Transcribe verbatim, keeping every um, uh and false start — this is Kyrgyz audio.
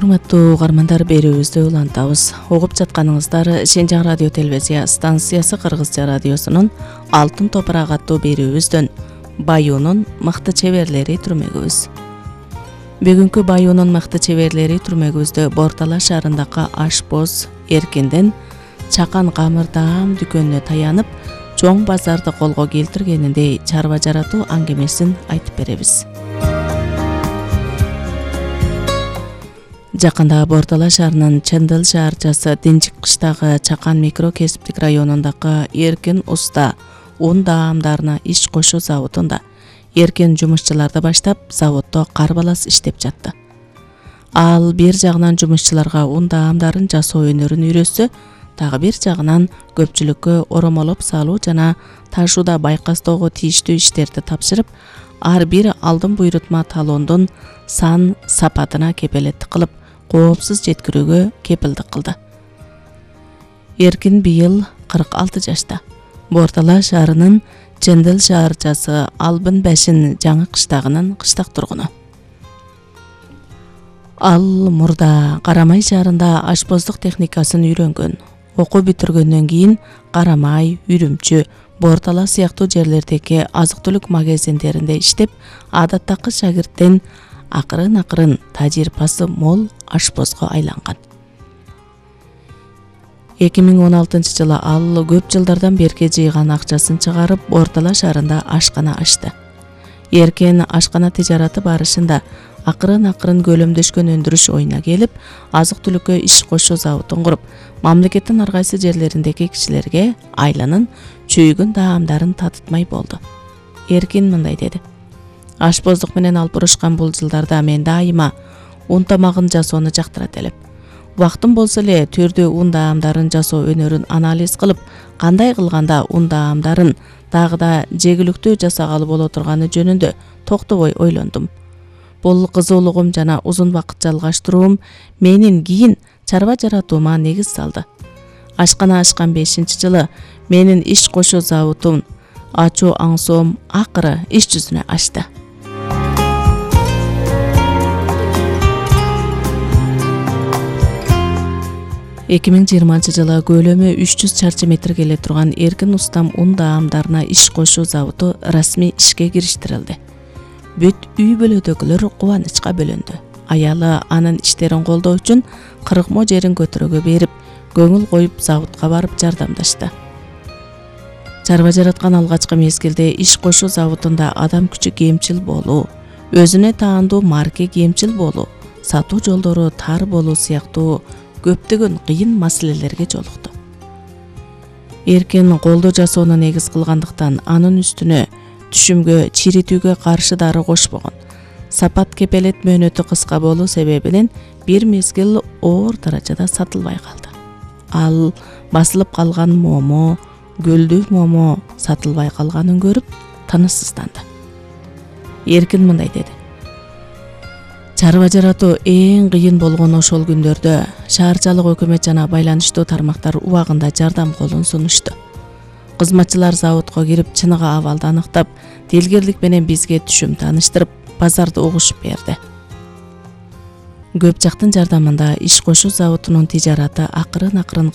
Урматтуу угармандар, берүүбүздү улантабыз. Угуп жатканыңыздар Шенжаң радио телевизия станциясы Кыргызча радиосунун Алтын топурак аттуу берүүбүздөн Баюунун мыкты чеберлери түрмөгүбүз. Бүгүнкү Баюунун мыкты чеберлери түрмөгүбүздө Бортала шаарындагы ашпоз Эркинден чакан камыр даам дүкөнүнө таянып, чоң базарды колго келтиргениндей чарба жаратуу аңгемесин айтып беребиз. Жакында Бортала шаарынын Чындыл шаарчасы Динчик кыштагы Чакан микро кесиптик районундагы Эркин уста ун даамдарына иш кошуу заводунда эркен жумушчуларды баштап, заводдо карбалас иштеп жатты. Ал бир жагынан жумушчуларга ун даамдарын жасоо өнөрүн үйрөтсө, дагы бир жагынан көпчүлүккө оромолоп салуу жана ташууда байкастоого тийиштүү иштерди тапшырып, ар бир алдын буйрутма талондун сан сапатына кепелеттик кылып, коопсуз жеткирүүгө кепилдик кылды. Эркин быйыл кырк алты жашта. Бортала шаарынын Чындыл шаарчасы Албын Башин жаңы кыштагынын кыштак тургуну. Ал мурда Карамай шаарында ашпоздук техникасын үйрөнгөн. Окуу бүтүргөндөн кийин Карамай, Үрүмчү, Бортала сыяктуу жерлердеги азык-түлүк магазиндеринде иштеп, адаттагы шагирттен акырын-акырын тажрыйбасы мол ашпозго айланган. эки миң он алтынчы жылы ал көп жылдардан берки жыйган акчасын чыгарып, Бортала шаарында ашкана ачты. Эркен ашкана тижараты барышында акырын-акырын көлөмдөшкөн өндүрүш оюна келип, азык-түлүккө иш кошуу заводун куруп, мамлекеттин ар кайсы жерлериндеги кишилерге айланын чүйгүн даамдарын татытмай болду. Эркин мындай деди: ашпоздук менен алпурушкан бул жылдарда мен дайыма ун тамагын жасоону жактырат элем. Убактым болсо эле түрдүү ун даамдарын жасоо өнөрүн анализ кылып, кандай кылганда ун даамдарын дагы да жегиликтүү жасагалы боло турганы жөнүндө токтобой ойлондум. Бул кызуулугум жана узун убакыт жалгаштыруум менин кийин чарба жаратуума негиз салды. Ашкана ачкан бешинчи жылы менин иш кошуу заводун ачуу аңсоом акыры иш жүзүнө ачты. эки миң жыйырманчы жылы көлөмү үч жүз чарчы метр келе турган Эркин устам ун даамдарына иш кошуу заводу расмий ишке кириштирилди. Бүт үй бүлөдөгүлөр кубанычка бөлөндү. Аялы анын иштерин колдоо үчүн кырк мо жерин көтөрөгө берип, көңүл коюп заводко барып жардамдашты. Чарба жараткан алгачкы мезгилде иш кошуу заводунда адам күчү кемчил болуу, өзүнө таандуу марке кемчил болуу, сатуу жолдору тар болуу сыяктуу көптөгөн кыйын маселелерге жолукту. Эркин колдоо жасоону негиз кылгандыктан анын үстүнө түшүмгө, чиритүүгө каршы дары кошпогон. Сапат кепелет мөөнөтү кыска болуу себебинен бир мезгил оор даражада сатылбай калды. Ал басылып калган момо, гүлдүү момо сатылбай калганын көрүп тынычсызданды. Эркин мындай деди: чарба жаратуу эң кыйын болгон ошол күндөрдө шаарчалык өкмөт жана байланыштуу тармактар убагында жардам колун сунушту. Кызматчылар заводко кирип, чыныгы абалды аныктап, тилгерлик менен бизге түшүм тааныштырып, базарды угушуп берди. Көп жактын жардамында иш кошуу заводунун тижараты акырын-акырын калп